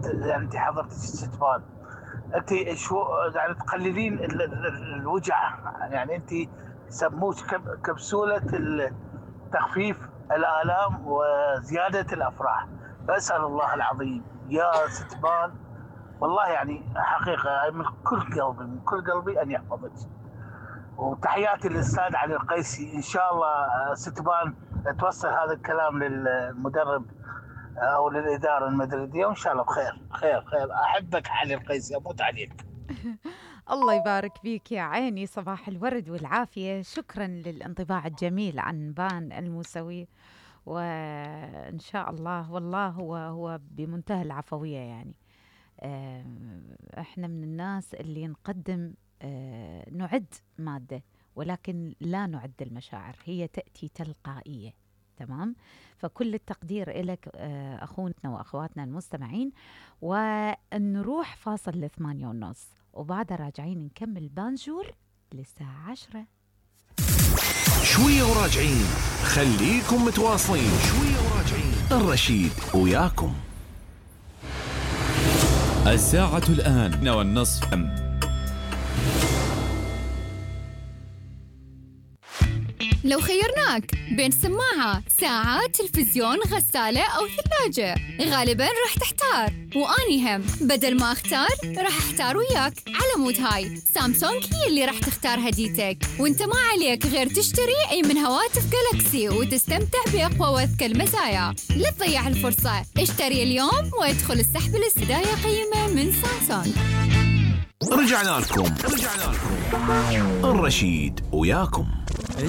يعني انت حضرتك ستفان، انت شو يعني تقللين الوجع، يعني انت سموش كبسولة تخفيف الآلام وزيادة الأفراح. فأسأل الله العظيم يا ستفان والله يعني حقيقة من كل قلبي أن يحفظك. وتحياتي للأستاذ علي القيسي. إن شاء الله ستفان توصل هذا الكلام للمدرب أو للإدارة المدريدية، وإن شاء الله بخير. خير. أحبك علي القيسي، أموت عليك. الله يبارك فيك يا عيني، صباح الورد والعافية. شكرا للانطباع الجميل عن بان الموسوي، وإن شاء الله والله هو بمنتهى العفوية. يعني احنا من الناس اللي نقدم نعد مادة، ولكن لا نعد المشاعر، هي تأتي تلقائية. تمام؟ فكل التقدير إلك أخونا وأخواتنا المستمعين، ونروح فاصل 8:30 وبعدها راجعين نكمل بانجور للساعة 10. شوية وراجعين، خليكم متواصلين. شوية وراجعين، الرشيد وياكم. الساعة الآن 8:30. لو خيرناك بين سماعة، ساعة، تلفزيون، غسالة أو ثلاجة، غالباً راح تحتار. وأني هم بدل ما أختار راح أحتار وياك. على مود هاي سامسونج هي اللي راح تختار هديتك، وانت ما عليك غير تشتري أي من هواتف جالاكسي وتستمتع بأقوى وأذكى المزايا. لا تضيع الفرصة، اشتري اليوم وادخل السحب الاستداية قيمة من سامسونج. رجعنا لكم الرشيد وياكم.